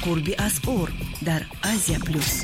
Қурби асъор дар Азия Плюс.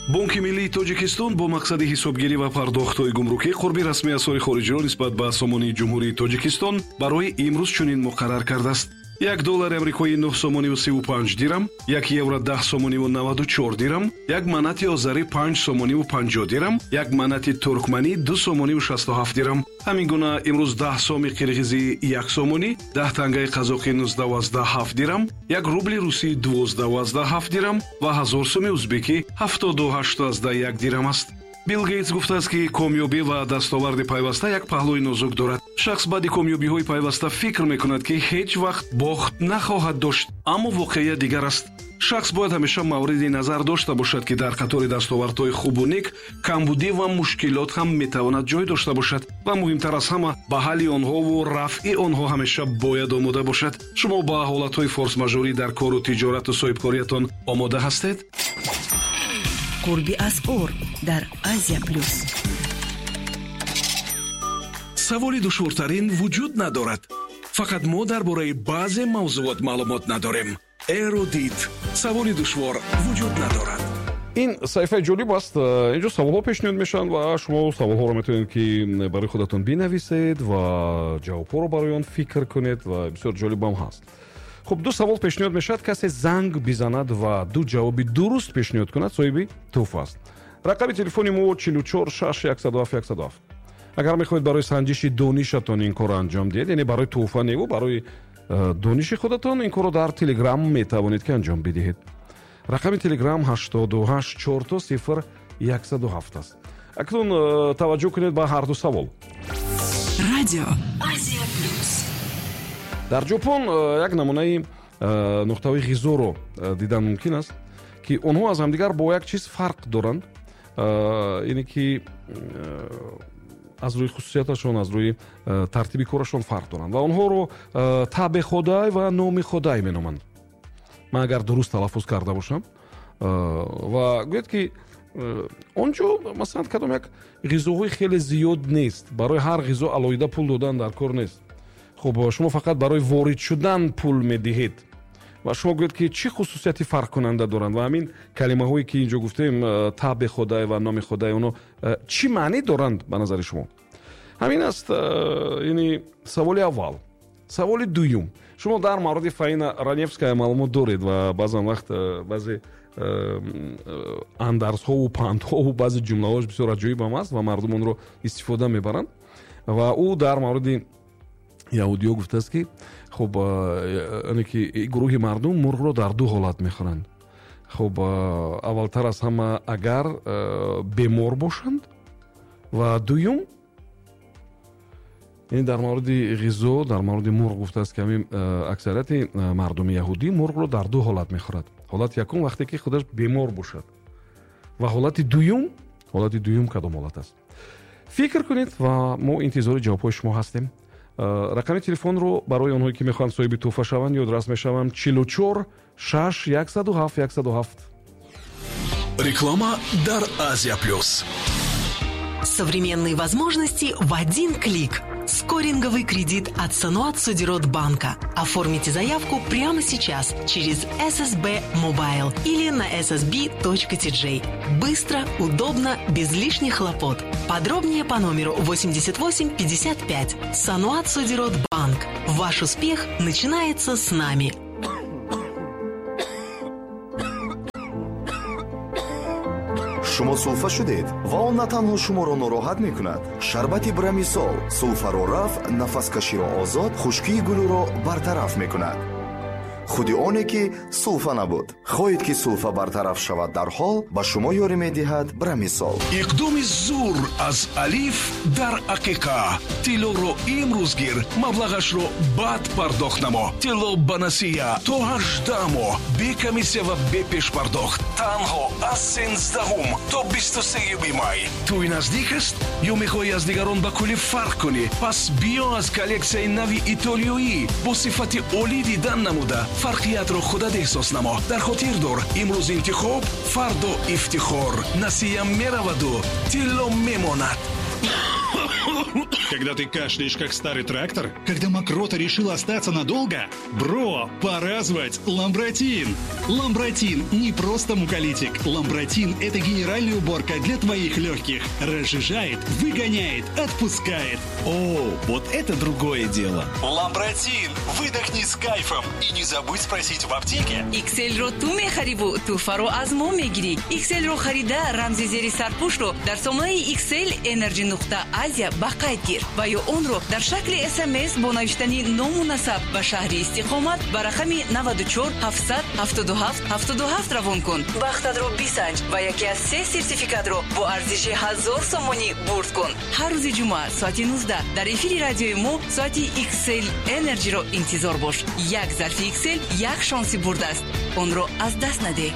Бонки миллии Тоҷикистон бо мақсади ҳисобгирӣ ва пардохтҳои гумрукӣ қурби расмии асъори хориҷиро нисбат ба сомонии Ҷумҳурии Тоҷикистон барои имрӯз чунин муқаррар кардааст. Як доллари амрикоӣ 9 сомониву 35 дирам, як евро 10 сомониву 94 дирам, як манати озарӣ 5 сомониву 50 дирам, як манати туркманӣ 2 сомониву 67 дирам. Ҳамин гуна имрӯз 10 соми қирғизӣ 1 сомонӣ, 10 тангаи қазоқӣ 19,7 дирам, як рубли русӣ 12,7 дирам ва 1000 соми узбекӣ 78,1 дирам аст. Билл Гейтс гуфтааст, ки комёбӣ ва дастоварди пайваста як паҳлӯи нозук дорад. Шахс баъди комёбиҳои пайваста фикр мекунад, ки ҳеҷ вақт бохт нахоҳад дошт, аммо воқеият дигар аст. Шахс бояд ҳамеша мавриди назар дошта бошад, ки дар қатори дастовардҳои хубу нек камбудӣ ва мушкилот ҳам метавонад ҷой дошта бошад ва муҳимтар аз ҳама ба ҳалли онҳову рафъи онҳо ҳамеша бояд омода бошад. Шумо ба ҳолатҳои форсмажорӣ дар кору тиҷорату соҳибкориятон омода ҳастед? Қурби асъор дар Азия Плюс. Саволи душвортарин вуҷуд надорад. Фақат мо дар бораи баъзе мавзуот маълумот надорем. Эрудит. Саволи душвор вуҷуд надорад. Ин саҳифаи ҷолиб аст. Инҷо саволҳо пешниҳод мешаванд ва шумо саволҳоро метавонед, ки барои худатон бинависед ва ҷавобҳоро барои он фикр кунед ва бисёр ҷолибам ҳаст. Хуб, ду савол пешниҳод мешавад. Касе занг бизанад ва ду ҷавоби дуруст пешниҳод кунад, соҳиби тӯҳфа аст. Рақами телефони мо 44 6 107 107. Агар мехоҳед барои санҷиши донишатон ин корро анҷом диҳед, яъне барои тӯҳфа неву барои дониши худатон ин корро дар Телеграм метавонед, ки анҷом бидиҳед. Рақами Телеграм 88 4 0 107 аст. Акнун таваҷҷӯҳ кунед ба ҳар ду савол. Радио Азия Плюс. Дар Ҷопон як намунаи нуқтаҳои ғизоро дидан мумкин аст, ки онҳо аз ҳамдигар бо як чиз фарқ доранд, ине ки аз рӯи хусусияташон, аз рӯи тартиби корашон фарқ доранд ва онҳоро табе ходай ва номи ходай меноманд. Ман агар дуруст талаффуз карда бошам. Ва гӯяд, ки он ҷо масалан кадом як ғизоҳои хеле зиёд нест, барои ҳар ғизо алоҳида пул додан дар кор нест. Хуб, шумо фақат барои ворид шудан пул медиҳед ва шумо гӯед, ки чӣ хусусияти фарқкунанда доранд ва ҳамин калимаҳое, ки инҷо гуфтем, табе ходай ва номи ходай, оно чӣ маънӣ доранд ба назари шумо? Ҳамин аст, яъне саволи аввал. Саволи дуюм. Шумо дар мавриди Фаина Раневская маълумот доред ва баъзан вақт баъзе андарзҳову пандҳову баъзе ҷумлаҳош бисёр аҷоибам аст ва мардум онро истифода мебаранд. Ва ӯ дар мавриди яҳудиё гуфтааст, ки хуб, яъне ки гурӯҳи мардум мурғро дар ду ҳолат мехӯранд. Хуб, аввалтар аз ҳама агар бемор бошанд ва дуюм, яъне дар мавриди ғизо, дар мавриди мурғ гуфтааст, ки ҳамин аксарияти мардуми яҳудӣ мурғро дар ду ҳолат мехӯрад. Ҳолати якум вақте ки худаш бемор бошад ва ҳолати дуюм кадом ҳолат аст? Фикр кунед ва мо интизори ҷавобҳои шумо ҳастем. Рақами телефонро барои онҳое, ки мехоҳанд соҳиби тӯҳфа шаванд, ёдрас мешавам: 44 6 107 107. Реклама дар Азия Плюс. Современные возможности в один клик. Скоринговый кредит от Саноат Содирот банка. Оформите заявку прямо сейчас через SSB Mobile или на ssb.tj. Быстро, удобно, без лишних хлопот. Подробнее по номеру 88 55. Саноат Содирот банк. Ваш успех начинается с нами. Шумо сулфа шудед ва он на танҳо шуморо нороҳат мекунад. Шарбати Брамисол сулфаро рафъ, нафаскаширо озод, хушкии гулӯро бартараф мекунад. Худи оне ки сулфа набуд. Хоҳед, ки сулфа бартараф шавад дарҳол, ба шумо ёрӣ медиҳад Брамисол. Иқдоми зур аз Алиф дар ақиқа. Тиллоро имрӯз гир, маблағашро баъд пардохт намо. Тилло ба насия то 18 моҳ, бе комиссия ва бе пешпардохт. Танҳо аз 13 то 23 май. Тӯй наздик аст ё мехоҳӣ аз дигарон ба куллӣ фарқ кунӣ? Пас биё аз коллексияи нави итолиёӣ бо сифати олӣ дидан намуда фарқиятро худат эҳсос намо. Дар хотир дор, имрӯз интихоб, фардо ифтихор. Насия мераваду тилло мемонад. Когда ты кашляешь, как старый трактор? Когда мокрота решила остаться надолго? Бро, пора звать Ламбратин! Ламбратин не просто муколитик. Ламбратин – это генеральная уборка для твоих легких. Разжижает, выгоняет, отпускает. О, вот это другое дело. Ламбратин! Выдохни с кайфом и не забудь спросить в аптеке. XL-ро ту мехариву, туҳфаро аз мо мегирӣ. XL-ро харида, рамзи зери сарпӯшро дар сомонаи XL Energy нуқта Азия ба қайд гир ва ё онро дар шакли СМС бо навиштани ному насаб ва шаҳри истиқомат ба рақами 94 777 77 равон кун. Бахтатро бисанҷ ва яке аз се сертификатро бо арзиши 1000 сомонӣ бурд кун. Ҳар рӯзи ҷумъа соати 19 дар эфири радиои мо соати XL Energy-ро интизор бош. Як зарфи XL як шонси бурдааст. Онро аз даст надеҳ.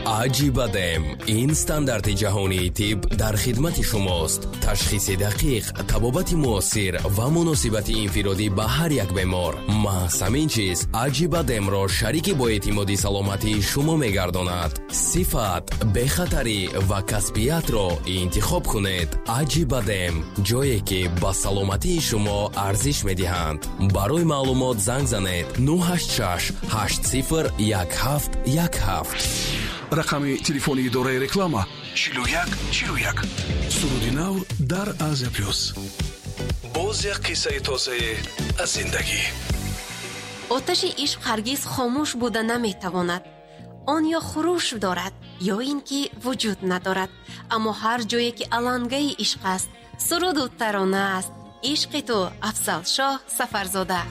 Аҷибадем ин стандарти ҷаҳонии тиб дар хидмати шумост. Ташхиси дақиқ, табобати муосир ва муносибати инфиродӣ ба ҳар як бемор. Маҳз ҳамин чиз Аҷибадемро шарики боэътимоди саломатии шумо мегардонад. Сифат, бехатарӣ ва касбиятро интихоб кунед. Аҷибадем ҷое ки ба саломатии шумо арзиш медиҳанд. Барои маълумот занг занед 986 80 17 17. Рақами телефони идораи реклама 41 41. Суруди нав дар Азия Плюс. Боз як қиссаи тозае аз зиндагӣ. Оташи ишқ ҳаргиз хомӯш буда наметавонад. Он ё хуруш дорад, ё ин ки вуҷуд надорад. Аммо ҳар ҷое ки алангаи ишқ аст, суруду тарона аст. Ишқи ту, Афзалшоҳ Сафарзода.